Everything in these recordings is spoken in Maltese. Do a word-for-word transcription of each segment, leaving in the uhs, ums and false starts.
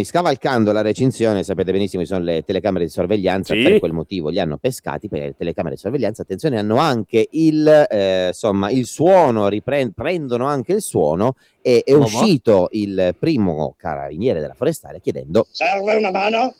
Scavalcando la recinzione, sapete benissimo, ci sono le telecamere di sorveglianza, Sì. per quel motivo li hanno pescati, perché le telecamere di sorveglianza, attenzione, hanno anche il, eh, insomma, il suono, ripren-, prendono anche il suono, e è Come? uscito il primo carabiniere della forestale chiedendo: serve una mano?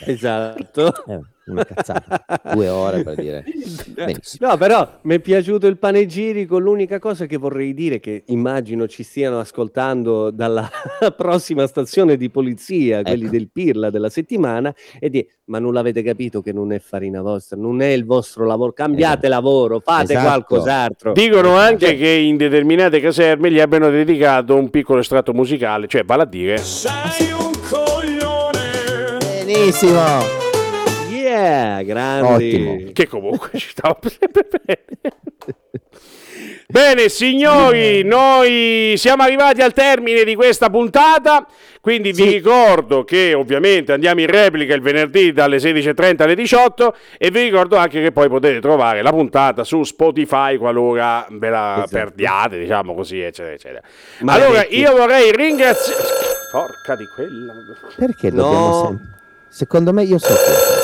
Esatto. Eh, una cazzata, due ore per dire. Benissimo. No, però mi è piaciuto il panegirico. L'unica cosa che vorrei dire, che immagino ci stiano ascoltando dalla prossima stazione di polizia, quelli Ecco. del Pirla della settimana, è di: ma non l'avete capito che non è farina vostra, non è il vostro lavoro, cambiate Esatto. lavoro, fate Esatto. qualcos'altro. Dicono anche Cioè che in determinate caserme gli abbiano dedicato un piccolo estratto musicale, cioè vale a dire: sei un coglione. Benissimo. Yeah, grandi. Ottimo. Che comunque ci stava sempre bene. Bene, signori, noi siamo arrivati al termine di questa puntata, quindi vi Sì. ricordo che ovviamente andiamo in replica il venerdì dalle sedici e trenta alle diciotto, e vi ricordo anche che poi potete trovare la puntata su Spotify qualora ve la Esatto. perdiate, diciamo così, eccetera, eccetera. Maledetti. Allora, io vorrei ringraziare... Porca di quella... Perché No. dobbiamo sempre... Secondo me io so chi è.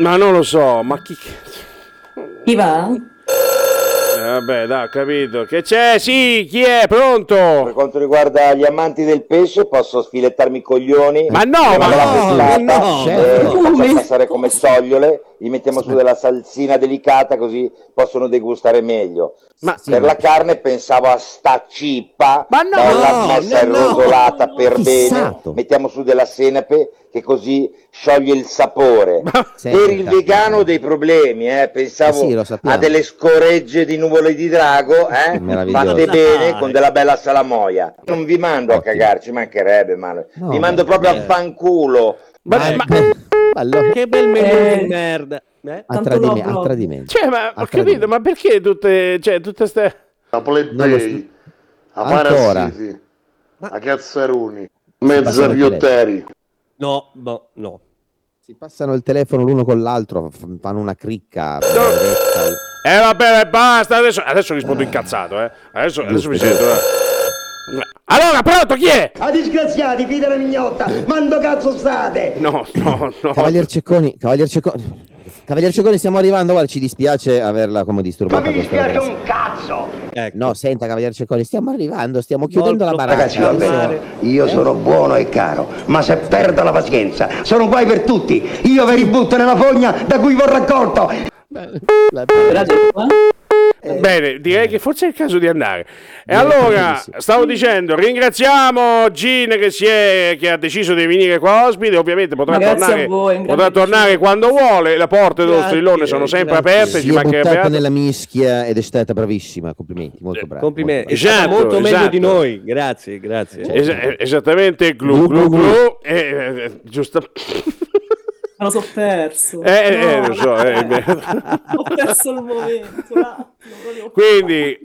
Ma non lo so, ma chi cazzo? Chi va? Eh, vabbè, dai, ho capito. Che c'è? Sì, chi è? Pronto? Per quanto riguarda gli amanti del pesce, posso sfilettarmi i coglioni. Ma no, ma Prima della no, pescata, no, eh, certo. li facciamo Come? passare come sogliole, gli mettiamo su della salsina delicata così possono degustare meglio. Ma Sì, per ma la carne pensavo a sta cippa, Ma no, bella messa no, no. rosolata per bene, Fissato. mettiamo su della senape che così scioglie il sapore. Ma Per Senta. il vegano ho dei problemi, eh. Pensavo Eh sì, lo sappiamo. a delle scoregge di nuvole di drago, eh? Meraviglioso. Fatte bene Dai. con della bella salamoia. Non vi mando a Ottimo. cagarci, mancherebbe, ma No, vi mando beh, proprio beh. a fanculo. Ma, Ma, ma- ma allora, Che bel menù Eh. di merda. Eh? a, Tanto tradime- lo a tradimento. Cioè, ma ho A capito, tradimento. ma perché tutte, cioè, tutte ste... A Non lo plebei, a Ancora. parassiti, Ma- a cazzaroni, passano mezza il piotteri. No, boh, no. Si passano il telefono l'uno con l'altro, f- fanno una cricca benedetta. Eh vabbè, basta, adesso, adesso rispondo incazzato, eh. Adesso, adesso mi Giusto, sento... eh. Allora, pronto, chi è? A disgraziati, fida la mignotta, mando cazzo state! No, no, no. Cavalier Cecconi, Cavalier Cecconi, Cavalier Cecconi, stiamo arrivando, guarda, ci dispiace averla come Ma disturbata mi questa dispiace ragazza. un cazzo! Ecco. No, senta, Cavalier Cecconi, stiamo arrivando, stiamo chiudendo la Molto baracca. Ragazzi, va Adesso- bene, io sono buono e caro, ma se perdo la pazienza, sono guai per tutti. Io vi ributto nella fogna da cui vi ho raccolto. La- Bene, direi che forse è il caso di andare. E Direi allora, proprio di sì. stavo dicendo, ringraziamo Gin che, si è, che ha deciso di venire qua ospite. Ovviamente potrà Ma grazie tornare, a voi, un grande potrà tornare piacere. quando vuole. Le porte dello Grazie, strillone sono sempre grazie. aperte, Si ci è mancherebbe buttata altro. nella mischia ed è stata bravissima, complimenti, molto brava. Complimenti, molto è stata Esatto, molto meglio esatto. di noi. Grazie, grazie. Es- eh, esattamente, glu glu Glu, glu, glu. Eh, eh, giusto. Me lo so perso. Eh, eh, No. lo so, eh, beh. Ho perso il momento. Un attimo, proprio. Quindi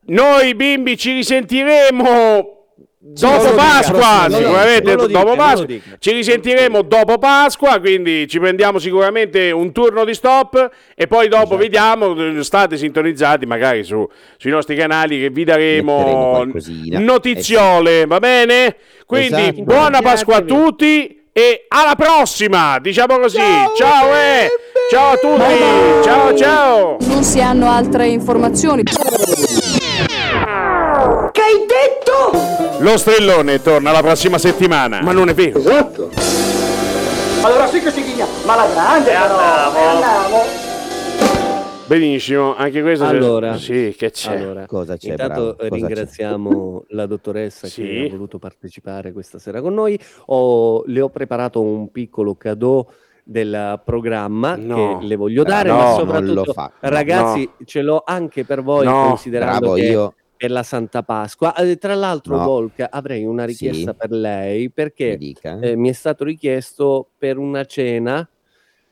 noi bimbi ci risentiremo dopo non lo Pasqua, dica, non lo sicuramente dica, non lo dopo dica, non Pasqua. lo dica. Ci risentiremo dopo Pasqua, quindi ci prendiamo sicuramente un turno di stop e poi dopo Esatto. vediamo, state sintonizzati magari su, sui nostri canali che vi Metteremo daremo qualcosina. notiziole, va bene? Quindi Esatto. buona Pasqua a tutti e alla prossima, diciamo così. Ciao, eh! Ciao a tutti! Ciao ciao! Non si hanno altre informazioni. Che hai detto? Lo strillone torna la prossima settimana. Ma non è vero. Esatto. Allora sì che si ghigna, ma la grande però. Andiamo. Benissimo, anche questo. Allora, sì, che c'è? Allora, Cosa c'è, intanto bravo? Cosa ringraziamo la dottoressa Sì. che ha voluto partecipare questa sera con noi. Ho- le ho preparato un piccolo cadeau del programma No. che le voglio dare, No, ma non soprattutto lo fa. ragazzi, ce l'ho anche per voi No. considerando Bravo, che io per la Santa Pasqua. Eh, tra l'altro, No. Volk, avrei una richiesta Sì. per lei mi perché dica. eh, mi è stato richiesto per una cena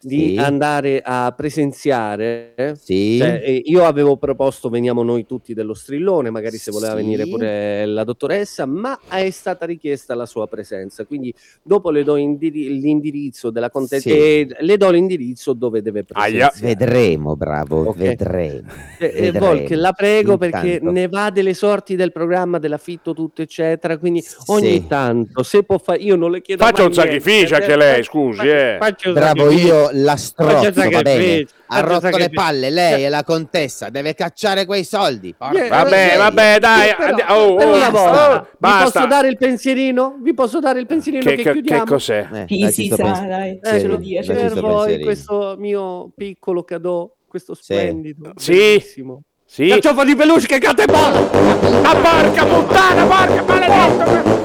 di Sì. andare a presenziare. Sì. Cioè, eh, io avevo proposto veniamo noi tutti dello Strillone, magari se voleva Sì. venire pure la dottoressa, ma è stata richiesta la sua presenza. Quindi dopo le do indiri- l'indirizzo della contessa Sì. e le do l'indirizzo dove deve Aia. presenziare. Vedremo, bravo, Ok. vedremo. Eh, eh, vedremo. Volk, la prego perché Intanto. ne va delle sorti del programma, dell'affitto, tutto eccetera. Quindi ogni Sì. tanto, se può fare, io non le chiedo Faccia mai un sacrificio niente. anche lei, scusi, eh. Faccia un Bravo, sacrificio. io la Faccia strozzo, un va bene. sacrificio, Ha faccia un rotto le sacrificio. palle, lei è la contessa, deve cacciare quei soldi. Porca Eh, Vabbè, miseria. vabbè, dai. Però, andi- oh, per oh, una volta, oh, vi basta. posso dare il pensierino? Vi posso dare il pensierino Che, che, che, chiudiamo? che cos'è? Eh, Sì, dacci sì, sto sa, pens- dai, sì, ce lo dia, ce lo dacci per sto voi pensierino. questo mio piccolo cadeau, questo Sì. splendido, Sì. bellissimo. Sì. Carciofo di peluche che cade buono! Ma porca puttana, porca maledetto!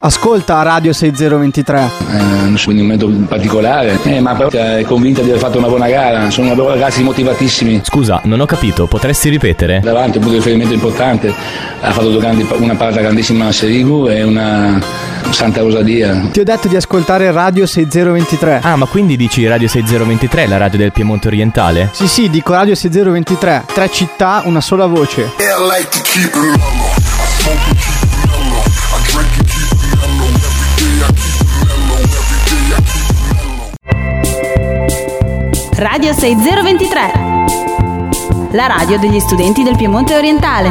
Ascolta Radio seimilaventitré. Eh, non so, quindi un momento particolare, eh, ma però è convinta di aver fatto una buona gara, sono ragazzi motivatissimi. Scusa, non ho capito, potresti ripetere? Davanti un punto di riferimento importante, ha fatto due grandi, una parata grandissima a Serigu e una Santa Rosalia. Ti ho detto di ascoltare Radio seimilaventitré. Ah, ma quindi dici Radio seimilaventitré, la radio del Piemonte Orientale? Sì, sì, dico Radio seimilaventitré. Tre città, una sola voce. I like to keep it mellow. I smoke and keep it mellow. I drink and keep it mellow. Every day I keep it mellow. Every day I keep it mellow. Radio seimilaventitré, la radio degli studenti del Piemonte Orientale.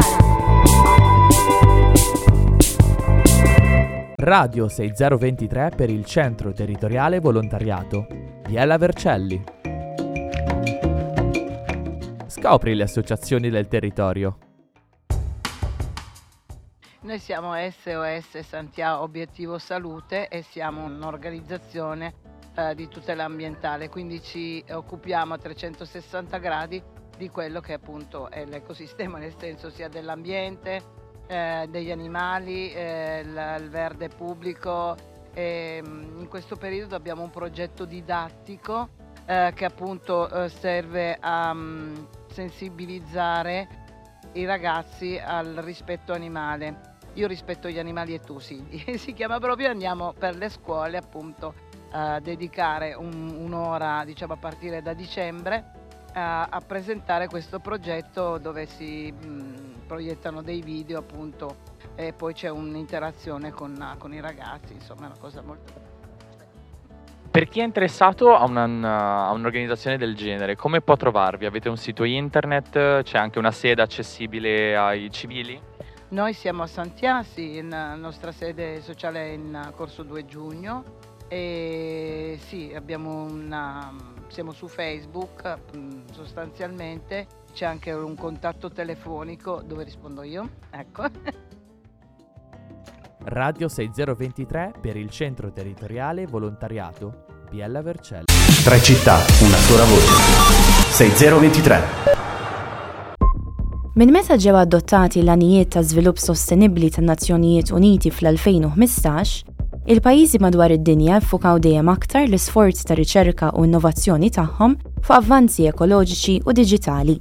Radio seimilaventitré per il Centro Territoriale Volontariato Biella Vercelli. Scopri le associazioni del territorio. Noi siamo S O S Santhià Obiettivo Salute e siamo un'organizzazione eh, di tutela ambientale, quindi ci occupiamo a trecentosessanta gradi di quello che appunto è l'ecosistema, nel senso sia dell'ambiente, eh, degli animali, eh, il, il verde pubblico. E, mm, in questo periodo abbiamo un progetto didattico eh, che appunto eh, serve a mm, sensibilizzare i ragazzi al rispetto animale. Io rispetto gli animali e tu sì, si chiama proprio, andiamo per le scuole appunto a dedicare un- un'ora, diciamo a partire da dicembre, a, a presentare questo progetto dove si mh, proiettano dei video appunto e poi c'è un'interazione con, con i ragazzi, insomma è una cosa molto... Per chi è interessato a, una- a un'organizzazione del genere, come può trovarvi? Avete un sito internet? C'è anche una sede accessibile ai civili? Noi siamo a Santhià, sì, in, la nostra sede sociale è in Corso due giugno e sì, abbiamo una, siamo su Facebook mm, sostanzialmente, c'è anche un contatto telefonico dove rispondo io, ecco. Radio seimilaventitré per il Centro Territoriale Volontariato Biella Vercelli. Tre città, una sola voce. seimilaventitré. Minn meta ġew adottati l-għanijiet ta' żvilupp sostenibbli tan-Nazzjonijiet Uniti fl-elfejn u ħmistax, il-pajjiżi madwar id-dinja ffukaw dejjem aktar l-isforzi ta' riċerka u innovazzjoni tagħhom fuq avvanzi ekoloġiċi u diġitali.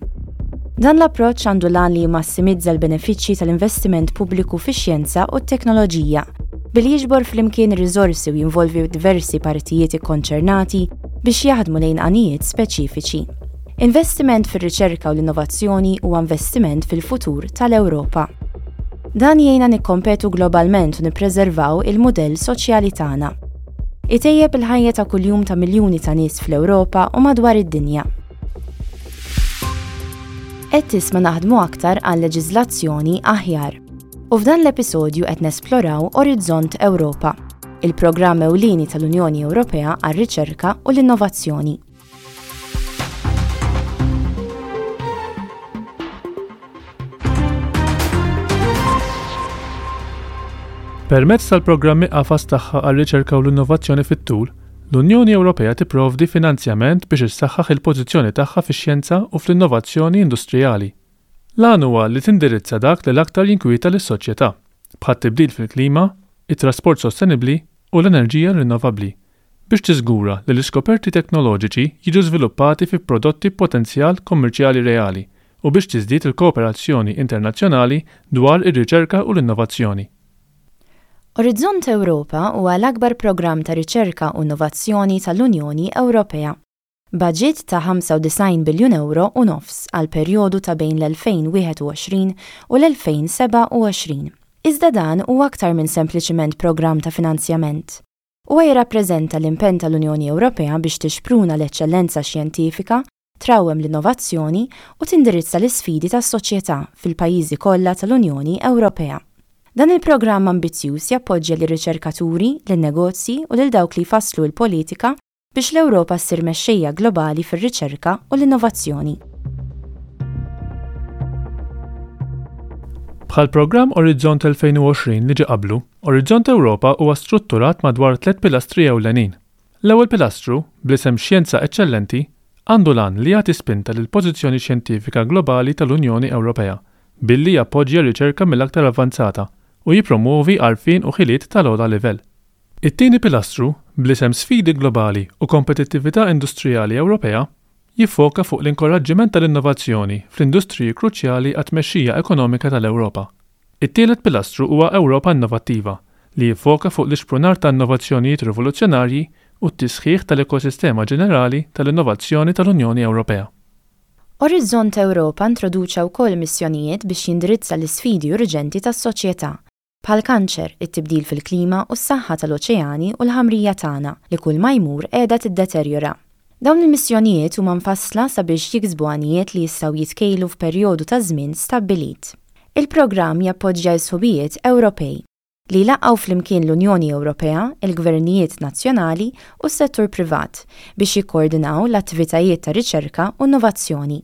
Dan l-approċċ għandu l-għan li jmassimizza l-benefiċċji tal-investiment pubbliku fix-xjenza u t-teknoloġija, billi jiġbor flimkien riżorsi u jinvolvi diversi partijiet ikkonċernati biex jaħdmu lejn għanijiet speċifiċi. Investiment fir-riċerka u l-innovazzjoni huwa investiment fil-futur tal-Ewropa. Dan jgħinna nikkompetu globalment u nippreservaw il-mudell soċjali tagħna. Itejjeb il-ħajja ta' kuljum ta' miljuni ta' nies fl-Ewropa u madwar id-dinja. Qed tisma' naħdmu aktar għal leġiżlazzjoni aħjar. U f'dan l-episodju qed nesploraw Orizzont Ewropa, il-programm ewlieni tal-Unjoni Ewropea għar-riċerka u l-innovazzjoni. Permezz tal-programmi qafas tagħha għar-riċerka u l-innovazzjoni fit-tul, l-Unjoni Ewropea tipprovdi finanzjament biex issaħħaħ il-pożizzjoni tagħha fix-xjenza u fl-innovazzjoni industrijali. L-għan huwa li tindirizza dak li l-aktar jinkwieta lis-soċjetà, bħat-tibdil fil-klima, it-trasport sostenibbli u l-enerġija rinnovabbli, biex tiżgura li l-iskoperti teknoloġiċi jiġu żviluppati fi prodotti b'potenzjal kummerċjali reali u biex tiżdied il-kooperazzjoni internazzjonali dwar ir-riċerka u l-innovazzjoni. Orizzont Ewropa huwa l-akbar programm ta' riċerka u innovazzjoni tal-Unjoni Ewropea. Budget ta' ħamsa u disgħin biljun euro u nofs għal perjodu ta' bejn l-elfejn u wieħed u għoxrin u l-elfejn u sebgħa u għoxrin. Iżda dan huwa aktar minn sempliċiment programm ta' finanzjament. Huwa jirrappreżenta l-impenn tal-Unjoni Ewropea biex tixpruna l-eċċellenza xjentifika, trawwem l-innovazzjoni u tindirizza l-isfidi tas-soċjetà fil-pajjiżi kollha tal-Unjoni Ewropea. Dan il-programm ambizzjuż jappoġġja lir-riċerkaturi, lin-negozji u lil dawk li jfasslu l-politika biex l-Ewropa ssir mexxejja globali fir-riċerka u l-innovazzjoni. Bħal programm Orizzont elfejn u għoxrin li ġie qablu, Orizzont Ewropa huwa strutturat madwar tliet pilastri ewlenin. L-ewwel pilastru, bl-isem Xjenza Eċċellenti, għandu l-għan li jagħti spinta lil pożizzjoni xjentifika globali tal-Unjoni Ewropea billi jappoġġja riċerka mill-aktar avvanzata u jippromuovi għarfien u ħiliet tal-ogħla livell. It-tieni pilastru, bl-isem Sfidi Globali u Kompetittività Industrijali Ewropea, jiffoka fuq l-inkoraġġiment tal-innovazzjoni fl-industriji kruċjali għat-tmexxija ekonomika tal-Ewropa. It-tielet pilastru huwa Ewropa Innovattiva, li jiffoka fuq l-ixprunar ta' innovazzjonijiet rivoluzzjonarji u t-tisħiħ tal-ekosistema ġenerali tal-innovazzjoni tal-Unjoni Ewropea. Orizzont Ewropa introduċa wkoll missjonijiet biex jindirizza l-isfidi urġenti tas-soċjetà, bħal kanċer, it-tibdil fil-klima u s-saħħa tal-oċeani u l-ħamrija tagħna li kull ma jmur qiegħda tiddeterjora. Dawn il-missjonijiet huma mfassla sabiex jiksbu għanijiet li jistgħu jitkejlu f'perjodu ta' żmien stabbilit. Il-programm jappoġġja s-sħubijiet Ewropej li jlaqqgħu flimkien l-Unjoni Ewropea, il-gvernijiet nazzjonali u s-settur privat biex jikkoordinaw l-attivitajiet ta' riċerka u innovazzjoni.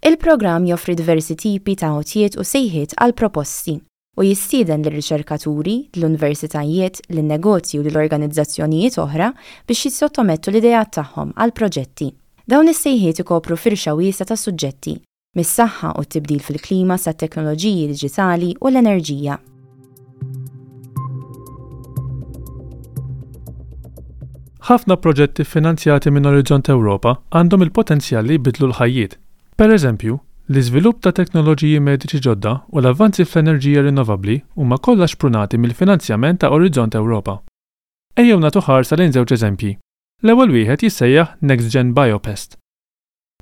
Il-programm joffri diversi tipi ta' għotjiet u sejħiet għal proposti u jistieden lir-riċerkaturi, l-universitajiet, lin-negozji u l-organizzazzjonijiet oħra biex jissottomettu l-ideat tagħhom għal proġetti. Dawn is-sejħiet ikopru firxa wiesgħa ta' suġġetti, mis-saħħa u t-tibdil fil-klima sa teknoloġiji diġitali u l-enerġija. Ħafna proġetti finanzjati minn Orizzont Ewropa għandhom il-potenzjal li jbidlu l-ħajjiet. Per eżempju, l-iżvilupp ta' teknoloġiji mediċi ġodda u l-avvanzi fl-enerġija rinnovabbli huma kollha xprunati mill-finanzjament ta' Orizzont Ewropa. Ejjew nagħtu ħarsa lejn żewġ eżempji. L-ewwel wieħed jissejjaħ Next Gen Biopest.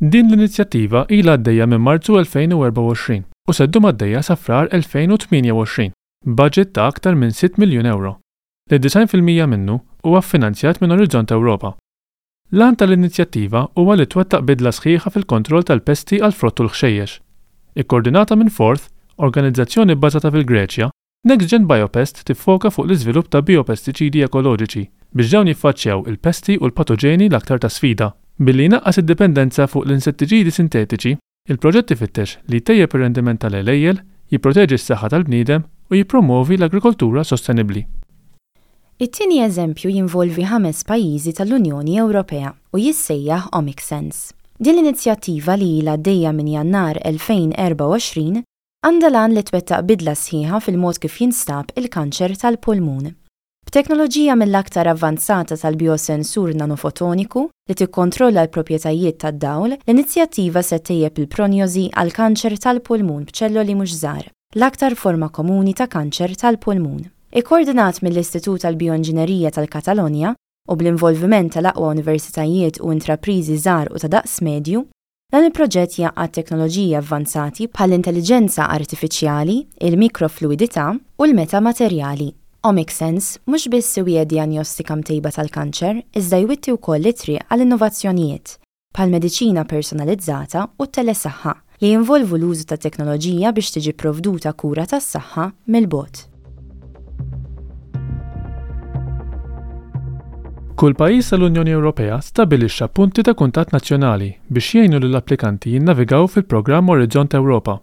Din l-inizjattiva ilha għaddejja minn Marzu elfejn u erbgħa u għoxrin u se ddum għaddejja sa Frar elfejn u tmienja u għoxrin, budget ta' aktar minn sitt miljun euro. Li disgħin fil-mija minnu huwa ffinanzjat minn Orizzont Ewropa. L-għan tal-inizjattiva huwa li twettaq bidla sħiħa fil-kontroll tal-pesti għal frott u l-ħxejjex. Ikkoordinata minn Forth, organizzazzjoni bbażata fil-Greċja, Next Gen Biopest tiffoka fuq l-iżvilupp ta' biopestiċidi ekoloġiċi biex dawn jiffaċċjaw il-pesti u l-patoġeni l-aktar ta' sfida. Billi jnaqqas id-dipendenza fuq l-insettiċidi sintetiċi, il-proġett ifittex li jtejjeb ir-rendiment tal-għelejjel, jipproteġi s-saħħa tal-bniedem u jippromovi l-agrikoltura sostenibbli. It-tieni eżempju jinvolvi ħames pajjiżi tal-Unjoni Ewropea u jissejjaħ OmicSense. Din l-inizjattiva, li ilha għaddejja minn Jannar elfejn u erbgħa u għoxrin, għandha l-għan li twettaq bidla sħiħa fil-mod kif jinstab il-kanċer tal-pulmun. B'teknoloġija mill-aktar avvanzata tal-biosensur nanofotoniku li tikkontrolla l-proprjetajiet tad-dawl, l-inizjattiva se ttejjeb il-prognożi għal kanċer tal-pulmun b'ċelloli mhux żgħar, l-aktar forma komuni ta' kanċer tal-pulmun. Ikkoordinat mill-Istitut tal-Bioinġinerija tal-Katalonja u bl-involviment tal-aqwa universitajiet u intrapriżi żgħar u ta' daqs medju, dan il-proġett jgħaqqad teknoloġiji avvanzati bħall-intelligenza artifiċjali, il-mikrofluidità u l-metamaterjali. OmicSense mhux biss iwiegħed diagnostika mtejba tal-kanċer, iżda jwitti wkoll it-triq għall innovazzjonijiet bħal mediċina personalizzata u t-telesaħħa, li jinvolvu l-użu ta' teknoloġija biex tiġi provduta kura tas-saħħa mill-bogħod. Kull pajjiż tal-Unjoni Ewropea stabilixxa punti ta' kuntatt nazzjonali biex jgħinu lill-applikanti jinnavigaw fil-programm Orizzont Ewropa.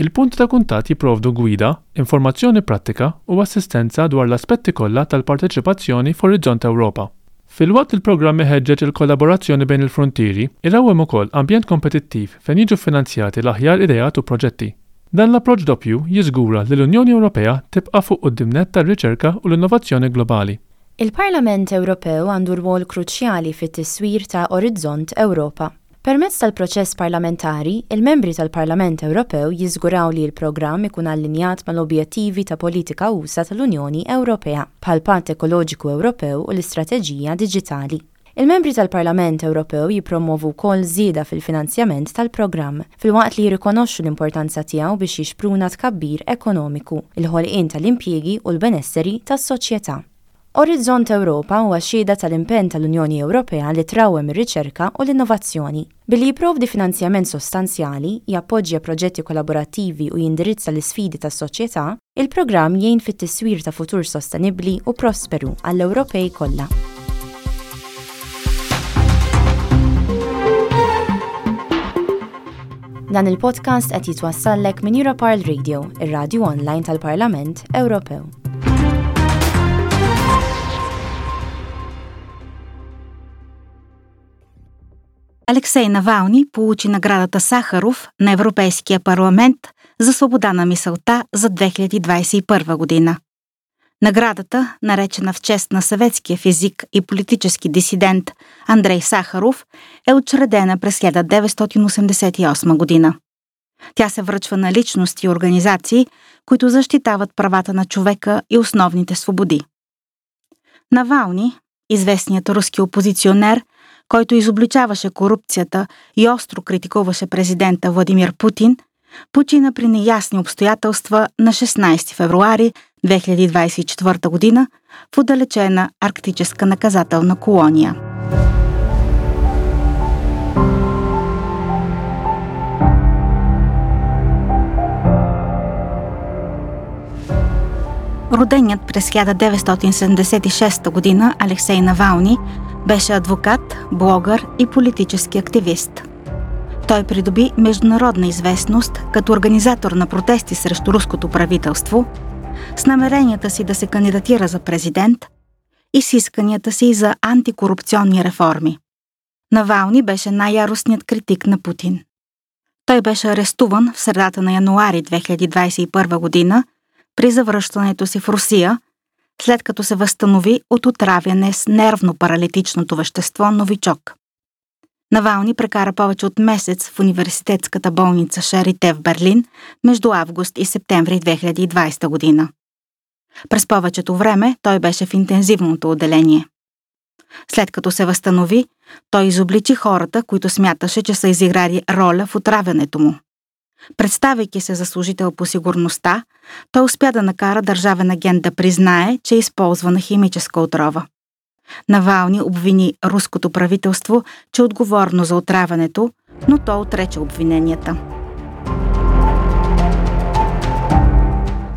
Il-punti ta' kuntatt jipprovdu gwida, informazzjoni prattika u assistenza dwar l-aspetti kollha tal-parteċipazzjoni f'Orizzont Ewropa. Filwaqt li l-programm iħeġġeġ il-kollaborazzjoni bejn il-frontieri, irawwem ukoll ambjent kompetittiv fejn jiġu finanzjati l-aħjar ideat u proġetti. Dan l-approċċ doppju jiżgura li l-Unjoni Ewropea tibqa' fuq quddiem nett tar-riċerka u l-innovazzjoni globali. Il-Parlament Ewropew għandu rwol kruċjali fit-tiswir ta' Orizzont Ewropa. Permezz tal-proċess parlamentari, il-membri tal-Parlament Ewropew jiżguraw li l-programm ikun allinjat mal-objettivi ta' politika usa' tal-Unjoni Ewropea, bħall-Patt Ekoloġiku Ewropew u l-Istrateġija Diġitali. Il-membri tal-Parlament Ewropew jippromovu wkoll żieda fil-finanzjament tal-programm, filwaqt li jirrikonoxxu l-importanza tiegħu biex jixpruna tkabbir ekonomiku, il-ħolqien tal-impjiegi u l-benesseri tas-soċjetà. Orizzont Ewropa huwa xhieda tal-impenn tal-Unjoni Ewropea li trawwem ir-riċerka u l-innovazzjoni. Billi jipprovdi finanzjament sostanzjali, jappoġġja proġetti kollaborattivi u jindirizza l-isfidi tas-soċjetà, il-programm jgħin fit-tiswir ta' futur sostenibbli u prosperu għall-Ewropej kollha. Dan il-podcast qed jitwassallek minn Europarl Radio, ir-radju online tal-Parlament Ewropew. Алексей Навални получи наградата Сахаров на Европейския парламент за свобода на мисълта за две хиляди двадесет и първа година. Наградата, наречена в чест на съветския физик и политически дисидент Андрей Сахаров, е учредена през хиляда деветстотин осемдесет и осма година. Тя се връчва на личности и организации, които защитават правата на човека и основните свободи. Навални, известният руски опозиционер, който изобличаваше корупцията и остро критикуваше президента Владимир Путин, почина при неясни обстоятелства на шестнадесети февруари две хиляди двадесет и четвърта година в отдалечена арктическа наказателна колония. Роденият през хиляда деветстотин седемдесет и шеста година Алексей Навални беше адвокат, блогър и политически активист. Той придоби международна известност като организатор на протести срещу руското правителство, с намеренията си да се кандидатира за президент и с исканията си за антикорупционни реформи. Навални беше най-яростният критик на Путин. Той беше арестуван в средата на януари две хиляди двадесет и първа година при завръщането си в Русия, след като се възстанови от отравяне с нервно-паралитичното вещество Новичок. Навални прекара повече от месец в университетската болница Шарите в Берлин между август и септември две хиляди и двадесета година. През повечето време той беше в интензивното отделение. След като се възстанови, той изобличи хората, които смяташе, че са изиграли роля в отравянето му. Представяйки се за служител по сигурността, той успя да накара държавен агент да признае, че е използвана химическа отрова. Навални обвини руското правителство, че е отговорно за отравянето, но то отрече обвиненията.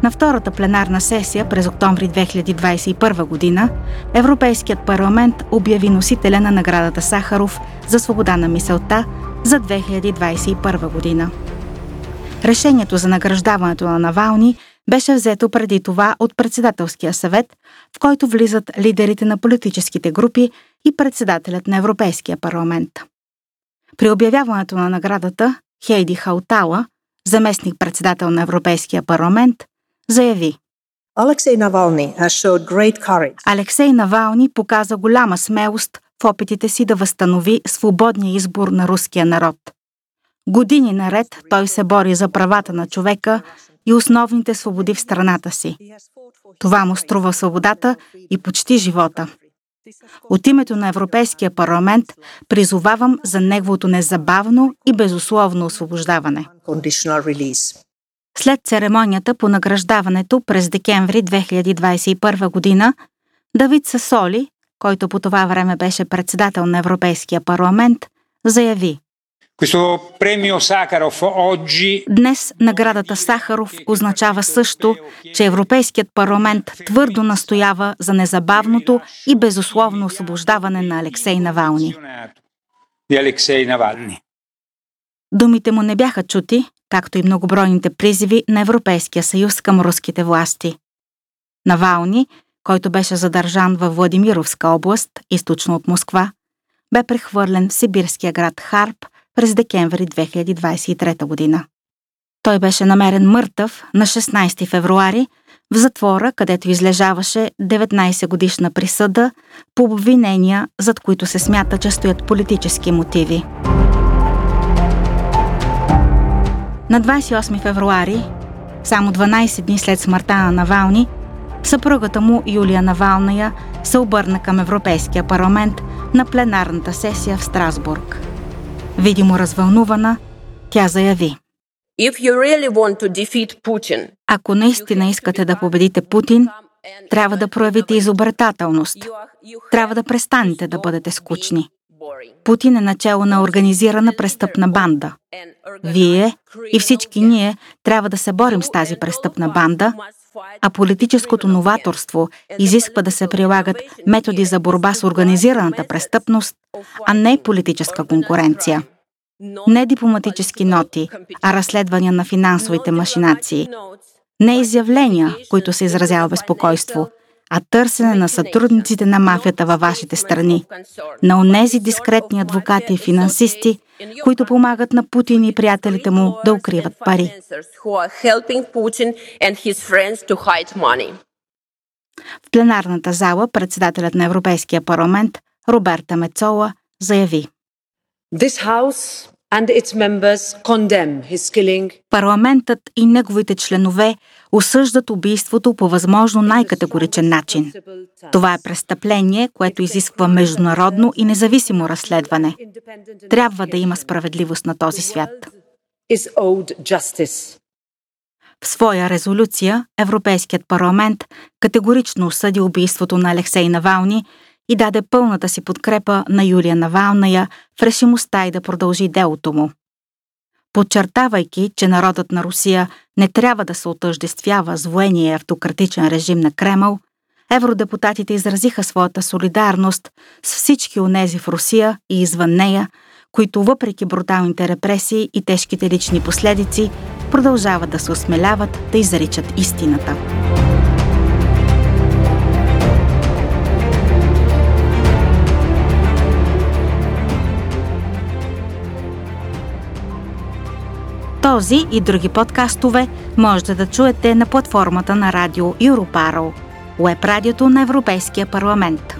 На втората пленарна сесия през октомври две хиляди двадесет и първа година Европейският парламент обяви носителя на наградата Сахаров за свобода на мисълта за две хиляди двадесет и първа година. Решението за награждаването на Навални беше взето преди това от Председателския съвет, в който влизат лидерите на политическите групи и председателят на Европейския парламент. При обявяването на наградата Хейди Хаутала, заместник-председател на Европейския парламент, заяви: Алексей Навални has showed great courage. Алексей Навални показа голяма смелост в опитите си да възстанови свободния избор на руския народ. Години наред той се бори за правата на човека и основните свободи в страната си. Това му струва свободата и почти живота. От името на Европейския парламент призовавам за неговото незабавно и безусловно освобождаване. След церемонията по награждаването през декември две хиляди двадесет и първа година, Давид Сасоли, който по това време беше председател на Европейския парламент, заяви: Questo premio Sakharov oggi... Днес наградата Сахаров означава също, че Европейският парламент твърдо настоява за незабавното и безусловно освобождаване на Алексей Навални. Di Alexei Navalny. Думите му не бяха чути, както и многобройните призиви на Европейския съюз към руските власти. Навални, който беше задържан във Владимировска област, източно от Москва, бе прехвърлен в сибирския град Харп през декември две хиляди двадесет и трета година. Той беше намерен мъртъв на шестнадесети февруари в затвора, където излежаваше деветнадесетгодишна присъда по обвинения, зад които се смята, че стоят политически мотиви. На двадесет и осми февруари, само дванадесет дни след смъртта на Навални, съпругата му Юлия Навалная се обърна към Европейския парламент на пленарната сесия в Страсбург. Видимо развълнувана, тя заяви: If you really want to defeat Putin, Ако наистина искате да победите Путин, трябва да проявите изобретателност. Трябва да престанете да бъдете скучни. Путин е начело на организирана престъпна банда. Вие и всички ние трябва да се борим с тази престъпна банда, а политическото новаторство изисква да се прилагат методи за борба с организираната престъпност, а не политическа конкуренция. Не дипломатически ноти, а разследвания на финансовите машинации. Не изявления, които се изразява безпокойство, а търсене на сътрудниците на мафията във вашите страни, на онези дискретни адвокати и финансисти, които помагат на Путин и приятелите му да укриват пари. В пленарната зала председателят на Европейския парламент Роберта Мецола заяви: This house and its members condemn his killing. Парламентът и неговите членове осъждат убийството по възможно най-категоричен начин. Това е престъпление, което изисква международно и независимо разследване. Трябва да има справедливост на този свят. Is owed justice. В своя резолюция Европейският парламент категорично осъди убийството на Алексей Навални и даде пълната си подкрепа на Юлия Навалная в решимостта й да продължи делото му. Подчертавайки, че народът на Русия не трябва да се отъждествява с военния автократичен режим на Кремъл, евродепутатите изразиха своята солидарност с всички онези в Русия и извън нея, които въпреки бруталните репресии и тежките лични последици, продължават да се осмеляват да изричат истината. Този и други подкастове можете да чуете на платформата на радио Europarl, уеб радиото на Европейския парламент.